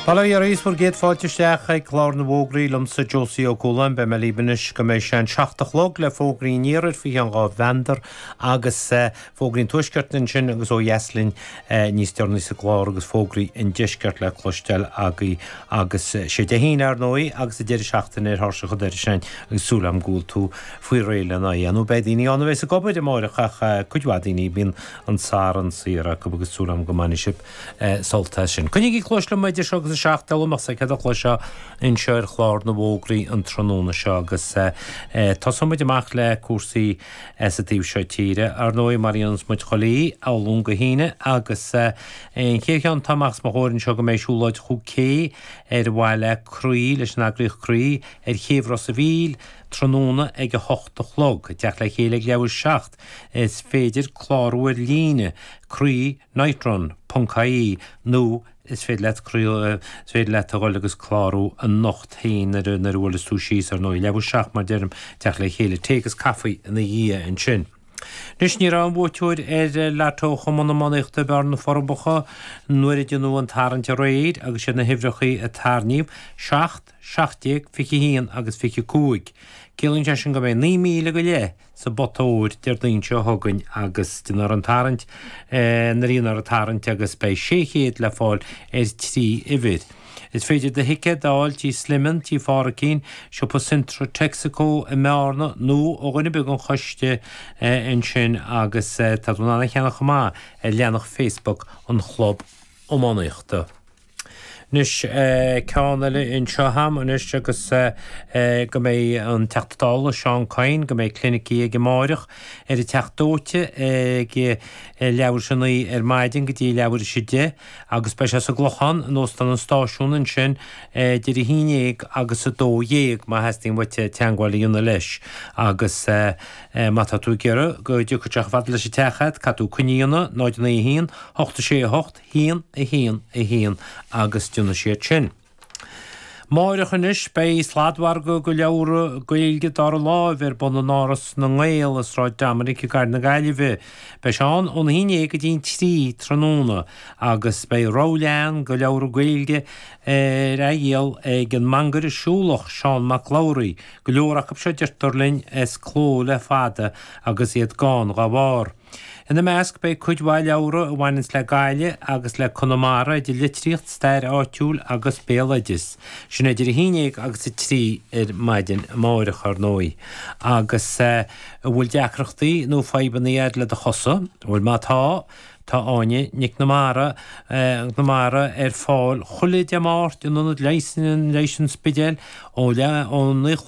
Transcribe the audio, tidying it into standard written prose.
Bail ó Dhia oraibh is bhur gcéad fáilte isteach ag Clár na bhFógraí liomsa Josie Ó Cualáin. Beidh mé libh anois go mbeidh sé an 7 a chlog le fógraí an iarthair faoi cheann dhá mheandar agus fógraí an tuaiscirt ansin agus ó dheas linn níos deireanaí sa gclár agus fógraí an deiscirt le cloisteáil agaibh agus sé Dé hAoine ar ndóigh agus an deireadh seachtaine ar thairseach an dorais againn agus súil agam go bhfuil tú faoi réir lena dhéanamh. Beidh daoine ann a bheas ag obair amáireach ach cuid mhaith daoine bíonn an Satharn saor acu agus súil agam go mbainfidh sibh sult as sin. Coinnígí cluais liom idir seo agus a 7, dealbh amach sa chéad fhoclóir seo anseo ar chlár na bhfógraí an tráthnóna seo agus tosóidh muid amach le cúrsaí sa taobh seo tíre, ar ndóigh, mar a dhéananns muid chuile oíche, ó Luan go hAoine agus an chéad cheann atá amach os mo chomhair anseo go mbeidh siúlóid Chú Cé ar mhaithe le Croí, leis an eagraíocht Croí, ar Chéibh Ros a' Mhíl tráthnóna ag 8 a chlog. Ag teacht le chéile ag leathuair 7. Is féidir clárú ar líne, croí. nightrun ponc ie nó is féidir leat is féidir leat a dhul agus clárú anocht féin nuair a nuair a bhuaileas tú síos ar ndóigh. Leathuair 7 mar deirim, teacht le chéile, tae agus caife ina dhiaidh ansin. Anois ní raibh aon bhuaiteoir ar Lotto Chumann Iománaíochta Bhearna Forbacha nuair a deineadh an tarraingt aréir agus siad na huimhreacha a tarraingíodh, 7, 17, 21 agus 25. Ciallaíonn sé sin go mbeidh 9,000 go leith sa bpota óir Déardaoin seo chugainn agus déanfar an tarraingt nuair a dhéanfar an tarraingt agus beidh 600 le fáil ar thrí uimhir. Is féidir do thicéad a fháil Tí Sliman, Tí Phádraicín, Siopa Centra Texaco i mBearna nó ó dhuine ar bith den choiste ansin agus tá tú in ann a cheannach chomh maith ar leathanach Facebook an Chlub Iománaíochta. Anois, ceann eile anseo a'm anois agus go mbeidh an Teachta Dála Seán Kyne, go mbeidh clinicí aige amáireach ar an Teach Dóite ag leathuair tar éis a 9 ar maidin go dtí leathuair tar éis a 10 agus beidh sé sa gClochán in Óstán an Stáisiúin ansin idir a 11 agus 12 má theastaíonn uait teagmháil a dhéanamh leis agus má tá tú ag iarraidh go dtiocfaidh sé chomh fada leis an teach a'd, caithfidh tú coinne a dhéanamh, 0 9 1 8 6 8 1, 1, 1 agus déanfaidh siad sin. Máireach anois beidh sladmhargadh de leabhra Gaeilge dara láimh ar bun in Áras na nGael i Sráid Dominic i gCathair na Gaillimhe. Beidh sé ann ón 11 go dtí an 3 tráthnóna agus beidh rogha leathan de leabhra Gaeilge ar athdhíol ag an mangaire siúlach Seán Mac Labhraí, go leor acu seo deirtear linn as cló le fada agus iad gann dá bharr. Ina measc beidh cuid mhaith leabhra a bhaineanns le Gaillimh agus le Conamara idir litríocht, stair áitiúil agus béaloideas. Sin idir 11 agus 3 ar maidin amáireach, ar ndóigh. Agus an bhfuil deacrachtaí nó fadhbanna a'd le do chosa? Bhuel má tá, tá Áine Nic na Mara, na Mara ar fáil chuile Dé Máirt in Ionad Leighis an Spidéil ó leath, ó 9 a chlog.